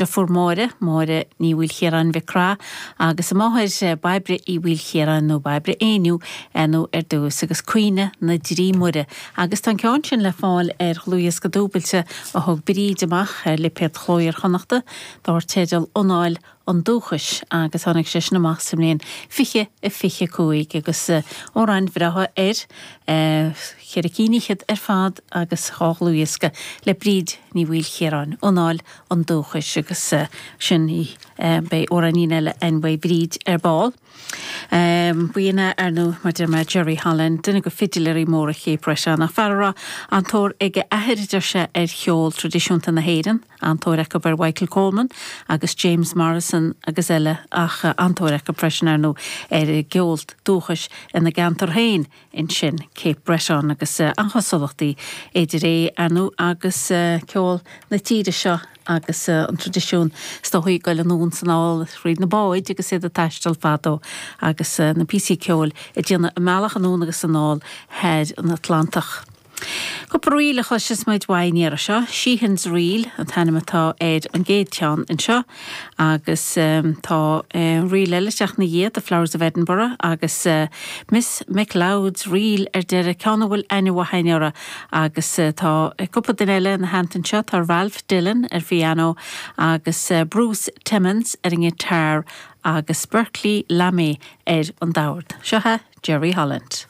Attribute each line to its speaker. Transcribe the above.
Speaker 1: Deirfiúr Máire, Máire Ní Mhaoilchiaráin Mhic Craith, agus a máthair, Bairbre Uí Mhaoilchiaráin nó Bairbre Éinniú nó ar dtús, agus Caoineadh na dTrí Muire. Agus tá an ceann sin le fáil ar dhlúthdhiosca dúbailte a thug Bríd amach ar lipéad Chló Iar-Chonnachta, dár teideal Anáil an Dúchais, agus tháinig sé sin amach sa mbliain 2025, agus amhráin bhreátha air, cheithre cinn fhichead ar fad agus dhá dhlúthdhiosca le Bríd Ní Mhaoilchiaráin, Anáil an Dúchais agus sin í. Beidh amhráinín eile againn uaidh Bhríd ar ball. B'in é, ar ndóigh, mar deir mé, Jerry Holland, duine de fidiléirí móra Cape Breton, ach fear a raibh an-tóir ag a athair, a deir sé, ar cheol traidisiúnta na hÉireann, an-tóir acu ar Michael Coleman agus James Morrison agus eile ach an-tóir acu freisin, ar ndóigh, ar an gceol dúchais ina gceantar féin. ansin, Cape Breton, agus an-chosúlachtaí idir é, ar ndóigh, agus ceol na tíre seo agus an traidisiún is dóichí ag goil anonn 's anall thríd na báid agus iad ag taisteal fadó agus na píosaí ceoil ag déanamh a mbealach anonn agus anall thar an Atlantach. Cúpla ríl a chloisfeas muid uaidh an iarraidh seo. Sheehan's Reel an t-ainm atá ar an gcéad cheann anseo agus tá ríl eile ag teacht ina dhiaidh, The Flowers of Edinburgh agus Miss McLeod's Reel ar deireadh, ceann a bhfuil aithne mhaith againn orthu agus tá cúpla duine eile ina theannta anseo, tá Ralph Dillon ar phianó agus Bruce Timmons ar an ngiotár agus Berkeley Lammy ar an dord. Seo é Jerry Holland.